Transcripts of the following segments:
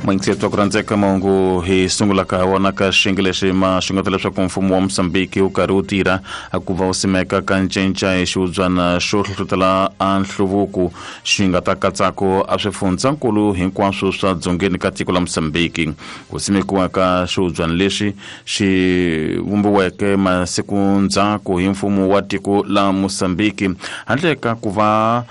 Mwingiseti wa ku rhandzeka, mahungu hi sungulaka ha wona ka xiyenge lexi ma xungeta leswaku mfumo wa Mozambique wu karhi wu tirha ku va wu simeka ka ncinca hi xihubyana xo hlohlotela a nhluvuko xi nga ta katsako a swifundzankulu hinkwaswo swa dzongeni ka tiko la Mozambique. Ku simekiwa ka xihubyana lexi xi vumbiweke masiku ndzhaku hi mfumo wa tiko la Mozambique handle ka ku va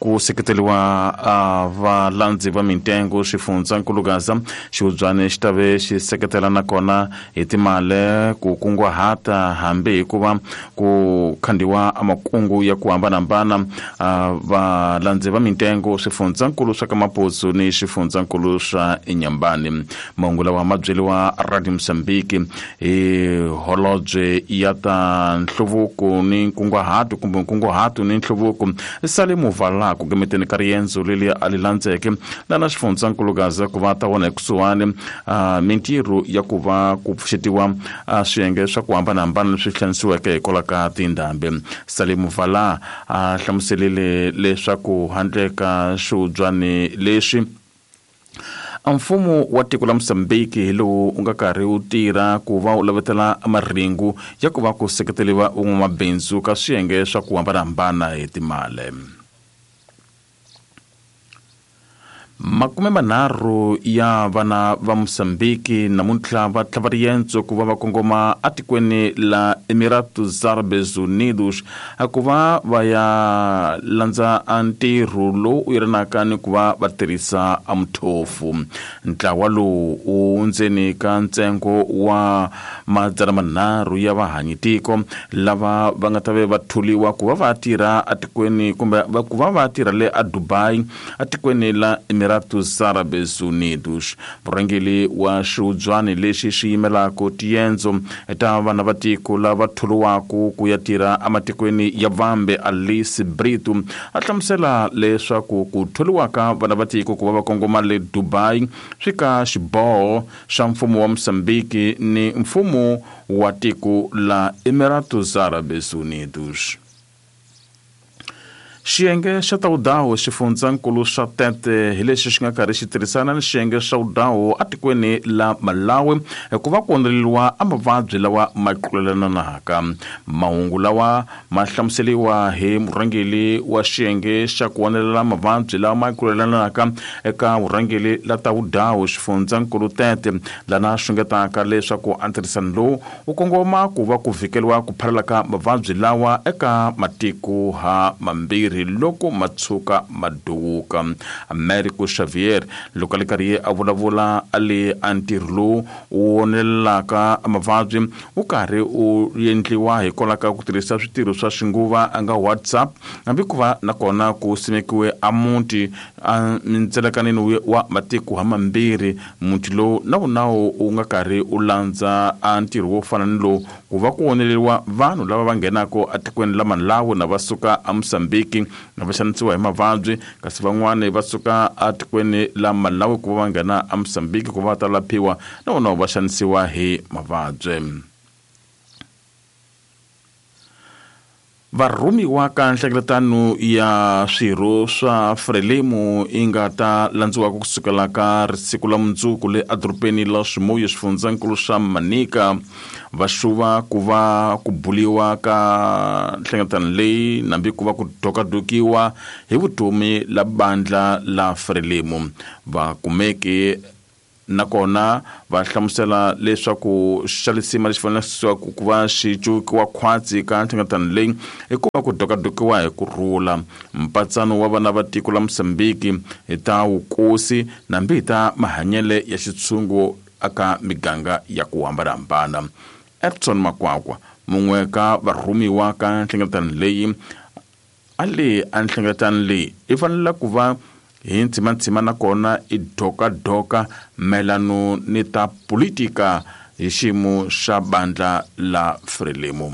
ku seketeriwa a valandzi va mintengo xifundzankulu Gaza, xihubyani xi ta ve xi seketela nakona hi timali ku kunguhata hambi hikuva ku khandiwa makungu ya ku hambanahambana valandzi va mintengo swifundzankulu swa ka Maputo ni xifundzankulu swa Inhambane. Mahungu lawa ma byeriwa Radio Mozambique hi holobye ya ta nhluvuko ni nkunguhato kumbe nkunguhato ni nhluvuko Salimu Vala ku gemeteni ka riendzo leri a li landzeke lana xifundzankulu Gaza ku va ta vona ekusuhani mintirho ya ku va ku pfuxetiwa swiyenge swa ku hambanahambana leswi hlanisiweke hikwalaho ka tindhambi. Salimu Vala a hlamuselile leswaku handle ka xihubyani lexi, mfumo wa tiko la Mozambique hi lowu wu nga karhi wu tirha ku va wu lavetela marhengu ya ku va ku seketeriwa van'wamabindzu ka swiyenge swa ku hambanahambana hi timali. 30 ya vana va Mozambique namuntlha va tlhava riendzo ku va va kongoma atikweni la Emiratos Árabes Unidos ku va va ya landza ntirho lowu wu yelanaka ni ku va va tirhisa mthofu. Ntlawa lowu wu ndzeni ka ntsengo wa 300 ya vahanyitiko lava va nga ta ve va tholiwa ku va va tirha atikweni kumbe ku va va tirha le a Dubai atikweni la Emiratos Árabes Unidos. Murhangeri wa xihubyani lexi xi yimelaka tiendzo ta vana va tiko lava tholiwaka ku ya tirha ematikweni ya vambe Alice Brito a hlamusela leswaku ku tholiwa ka vana va tiko ku va va kongoma le Dubai swi ka xiboho xa mfumo wa Mozambique ni mfumo wa tiko la Emiratos Árabes Unidos. Xiyenge xa Tawudawu xifundzankulu xa Tete hi lexi xi nga karhi xi tirhisana ni xiyenge xa Wudawu atikweni la Malawi ku va ku ondzeriwa a mavabyi lawa ma tlulelanaka. Mahungu lawa ma hlamuseriwa hi murhangeri wa xiyenge xa ku onelela mavabyi lawa ma tlulelanaka eka vurhangeri la Tawudawu xifundzankulu Tete, lana xungetaka leswaku a ntirhisano lowu wu kongoma ku va ku vhikeriwa ku phalala ka mavabyi lawa eka matiko ha mambirhi loko ma tshuka ma duwuka. Americo Xavier loko a li karhi a vulavula a le a ntirho lowu wu onelelaka mavabyi wu karhi wu endliwa hikwalaho ka ku tirhisa switirho swa xinguva a nga WhatsApp, hambi ku va nakona ku simekiwe a muti a mindzelekaneni wa matiko ha mambirhi. Muti lowu na wona wu nga karhi wu landza a ntirho wo fana ni lowu ku va ku oneleriwa vanhu lava va nghenaka etikweni la Malawi na va suka eMozambique na va xanisiwa hi mavabyi, kasi van'wani va suka etikweni la Malawi ku va va nghena eMozambique ku va va ta laphiwa na vona va xanisiwa hi mavabyi. Varhumiwa ka nhlengeletano ya swirho swa Frelimo yi nga ta landziwaka kusukela ka siku la mundzuku le edorobeni la Chimoio xifundzankulu xa Manica va xuva ku va ku buliwa ka nhlengeletano leyi nambi ku va ku dokadokiwa hi vutomi la bandla la Frelimo. Va kumeke nakona va hlamusela leswaku xa lisima lexi faneleke ku va xi cukiwa khwatsi ka nhlengeletano leyi i ku va ku dokadokiwa hi ku rhula mpatsano wa vana va tiko la Mozambique hi ta vukosi nambi hi ta mahanyele ya xitshungu aka miganga ya ku hambanahambana. Edson Makwakwa mun'we ka varhumiwa ka nhlengeletano leyi a le a nhlengeletano leyi i fanele ku va hi ntsimantsima nakona i dokadoka mayelano ni ta politika hi xiyimo xa bandla la Frelimo.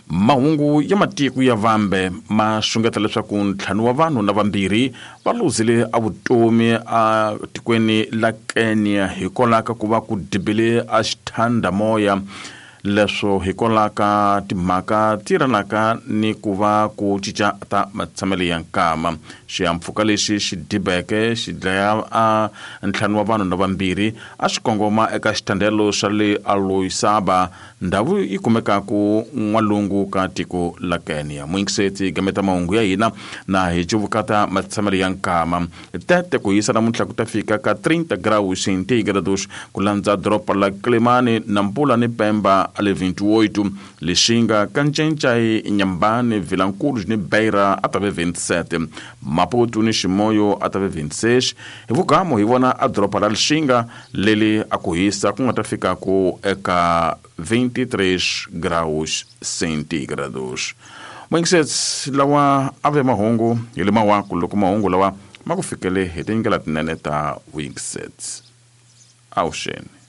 Mahungu ya matiko ya vambe ma xungeta leswaku 5 wa vanhu na 2 va luzile a vutomi a tikweni la Kenya hikwalaho ka ku va ku dibile a xithandamoya Leswo hikwalaho ka timhaka ti yelanaka ni ku va ku cinca ta matshamelo ya nkama. Xihahampfhuka lexi xi dibeke xi dlaya a ntlhanu wa vanhu na vambirhi a xi kongoma eka xithandelo xa le Aloisaba, ndhawu yi kumekaku n'walungu ka tiko la Kenya. Muyingiseti gameta mahungu ya hina na hi cuvukata matshamelo ya nkama. Tete ku hisa namuntlha ku ta fika ka 30 graus centígrados ku landza doroba la Quelimane, Nampula ni Pemba a le 28, Lixinga, Kancencai, Inhambane, Vilanculos ni Beira a ta ve 27, Maputo ni Chimoio a ta ve 26. Hi vugamu hi vona a doroba la Lixinga leli a ku hisa ku nga ta fikaku eka 23 graus centígrados. Moingisets lawa a ve mahungu hi le mawaku loko mahungu lawa ma ku fikele hi tindlela tinene ta vuyingisets. Avuxeni.